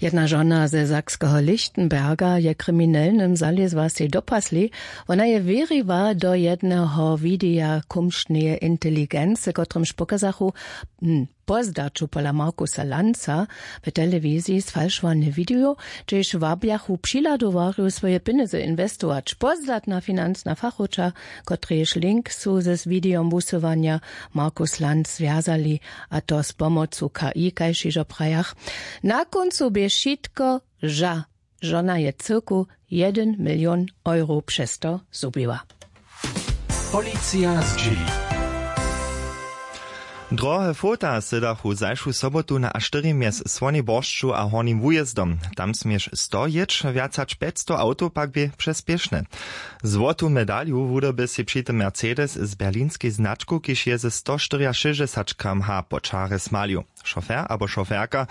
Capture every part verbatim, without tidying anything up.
Jedna žona ze sakskeho Lichtenberga je kriminelnym zalězła sej do pasli. Wona je wěriła do jedneho wideja kumšneje inteligency, kotrymž pokazachu, hm, po zdaću pola Markusa Lanza w telewiziji sfalšowany widejo, hdźež wabjachu přihladowarjow, swoje pjenjezy inwestować. Pozdatna financna fachowča, kotrejež link su z widejom wusyłanja Markus Lanz zwjazali, a to z pomocu K I, kaž hižo prajach. Na kóncu bě wšitko ža. Žona je cyrku jedyn milion euro přez to zhubiła. Policija zdźěli. Drohe fota sydachu zašu sobotu na a štyri mjez Słonjej Boršću a Hornim Wujězdom. Tam směš sto jěć, wjac hač pjećsto awtow pak bě přespěšne. Złotu medalju wudyrby sej při tym Mercedes z berlinskej značku, kiž je ze sto štyriašěsćdźesać km h po čarje smalju. Šofer abo šoferka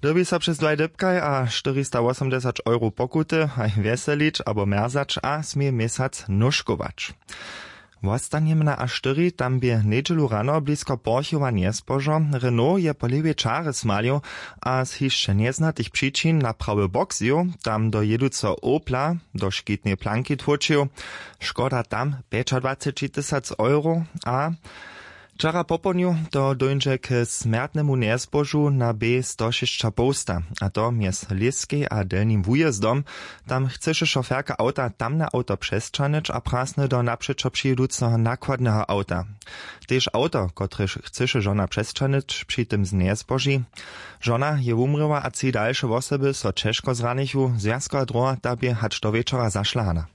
dyrbi so přez dwaj dypkaj a štyristawosomdźesać euro pokuty haj wjeselić abo mjerzać a směje měsac nóžkować. Wostanjemy na a štyri, tam bě njedźelu rano blisko Porchowa njezbožo. Renault je po lěwej čarje smalju a z hišće njeznatych přičin na prawy bok zjěł, tam do jěduceho Opla do škitneje planki tłóčił. Škoda tam pjećadwaceći tysac euro. A wčera popołdnju to dóńdźe k smjertnemu njezbožu na B sto šěsćapołsta, a to mjez Lěskej a Delnim Wujězdom. Tam chcyše šoferka awta tamne awto přesćahnyć a prasny do napřećo přijeduceho nakładneho awta. Tež awto, kotrež chcyše žona přesćahnyć, při tym z njezboži. Žona je wumrěła a tři dalše wosoby so ćežko zranichu. Zwjazkowa droha ta bě hač do wječora zašlahana.